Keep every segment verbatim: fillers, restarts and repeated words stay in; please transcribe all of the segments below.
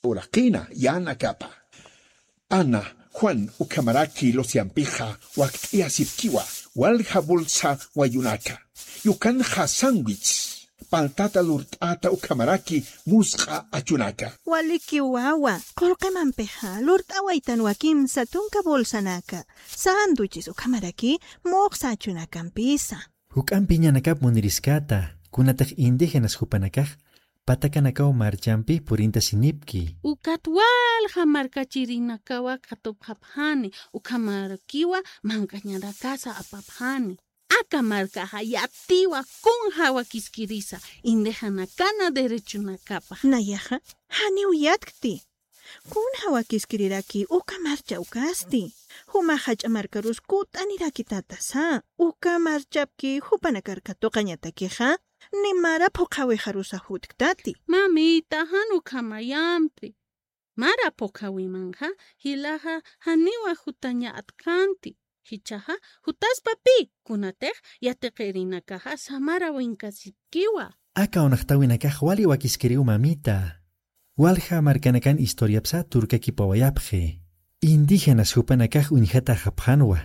uraqina yänakapa. Ana, Juan ukhamaraki Luciampixa wakt'ayasipkiwa walja bolsa wayunaka. Yukanxa sándwich, paltata lurt'ata ukhamaraki musq'a achunaka. Walikiw wawa, qullqimampixa lurt'awaytanwa kimsa tunka bolsanaka, sándwiches ukhamaraki muxsa achunakampisa. Juk'ampi ñanakap muniriskata, kunatix indígenas jupanakax patakanakaw marchampi purintasinipki. Ukat walja markachirinakawa katupxapxani, ukhamarakiwa manq'añarakasa apapxani. Aka markaxa yatiwa kunja wakiskirisa, indígenakana derechonakapa. Nayaxa, janiw yatkti. Kunja wakiskiriraki uka marcha ukasti. Jumax jach'a markarus kut'anirakitätasa. Uka marchapki jupanakar katuqañatakixa, ni mara phuqhawixarusa jutktati. Mamita, jan ukhamayampi. Mara phuqhawimanxa, jilaxa janiwa jutaña atkanti. Jichhaxa, jutaspa pi, kunatix yatiqirinakaxa samara winkasipkiwa. Aka uñxtäwinakax wali wakiskiriw mamita. Walja markanakan historiapsa turkakipawayapxi. Indígenas jupanakax uñjataxapxanwa.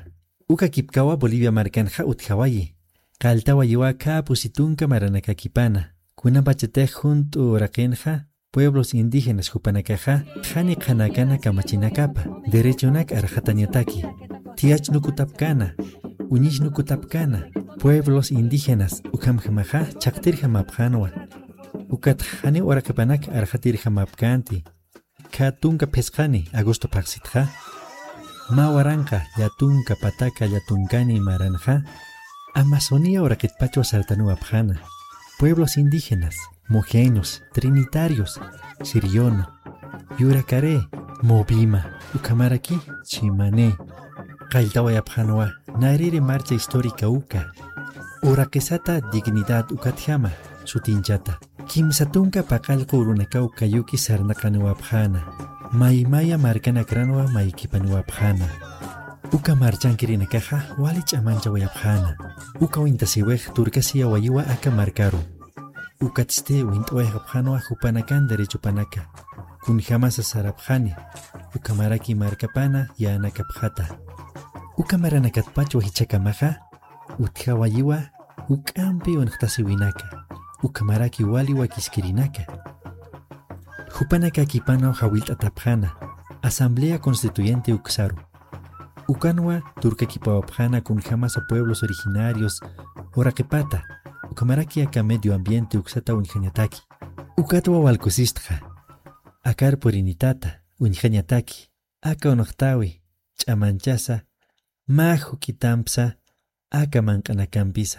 Ukakipkawa Bolivia markanxa utjawayi. Qalltawayiwa khä pusi tunka maranakakipana. Kunapachatix junt'u uraqinxa pueblos indígenas jupanakaxa qhani qhanakana kamachinakapa derechonak arxatañataki. Thiyachnukutapkana, uñisnukutapkana, pueblos indígenas ukhamjamaxa chhaqtirjamapxänwa. Ukat janiw uraqipanak arxatirjamapkänti. Khä tunka phisqani agosto phaxsitxa, mä waranqa llätunka pataka llätunkani maranxa, Amazonia uraqitpachwa sartanuwapxäna. Pueblos indígenas, mojenos, trinitarios, siriono, yurakaré, movima, ukhamaraki chimane, qalltawayapxänwa nariri marcha histórica uka. Uraqisata dignidad ukatjama sutinchata. Kimsa tunka paqallqu urunakaw kayuki sarnaqaniwapxäna. Maymaya markanakranwa maykipaniwapxäna. Uka marchankirinakaxa wali ch'amanchawayapxäna. Uka wintasiwix turkasiyawayiwa aka markaru. Ukatsti wint'awayxapxänwa jupanakan derechopanaka. Kunjamasa sarapxani, ukhamaraki markapana yänakapxata. Uka maranakatpachwa jichhakamaxa utjawayiwa juk'ampi uñxtasiwinaka, ukhamaraki wali wakiskirinaka. Jupanakakipanaw jawillt'atapxäna Asamblea Constituyente uksaru. Ukanwa turkakipawapxäna kunjamasa pueblos originarios uraqipata, ukhamaraki aka medio ambiente uksata uñjañataki. Ukatwa walkusistxa, akar purinitata uñjañataki, aka uñxtäwi ch'amanchasa, mä juk'itampsa, aka manq'anakampisa.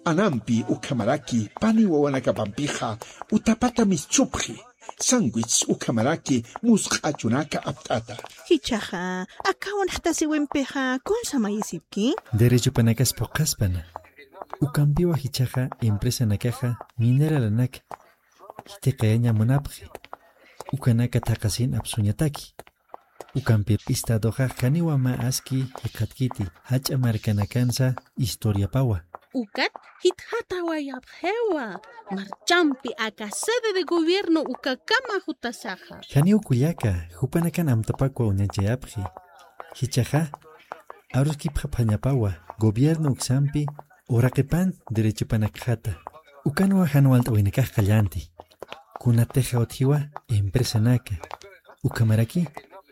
Anampi ukhamaraki pani wawanakapampixa utapata mischupxi, sándwich ukhamaraki musq'a achunaka apt'ata. Jichhaxa, aka uñxtasiwimpixa kunsa mayisipki? Derechopanakas phuqhaspana. Ukampiwa jichhaxa empresanakaxa mineralanak jithiqayaña munapxi. Ukanaka thaqhasin apsuñataki. Ukampir estadoxa janiwa mä aski jikxatkiti, jach'a markanakansa historiapawa. Ukat jitxatawayapxiwa, marchampi aka sede de gobierno ukakama jutasaxa. Janiw kullaka, jupanakan amtapakwa uñachayapxi. Jichhaxa, aruskipxapxañapawa gobierno uksampi uraqipan derechopanakxata. Ukanwa jan walt'awinakax qallänti. Kunatixa utjiwa empresanaka. Ukhamaraki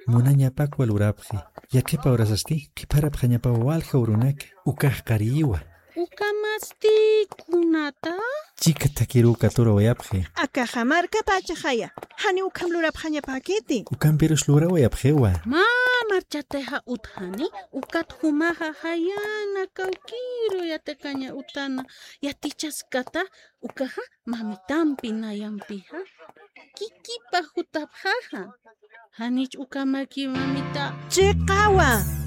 munañapakwa lurapxi. Yaqhipa urasasti qhiparapxañapawa walja urunaka. Ukax qariyiwa. Ukhamasti kunata? Chika thakiruw katurawayapxi. Akaxa markapachaxaya. Janiw ukham lurapxañapäkiti. Ukampirus lurawayapxiwa. Mä marchatixa utjani, ukat jumaxa jayana kawkiru yatiqaña utana yatichaskata, ukaxa mamitampi nayampixa kikipa jutapxaxa. Janich ukhamaki mamita. Chiqawa.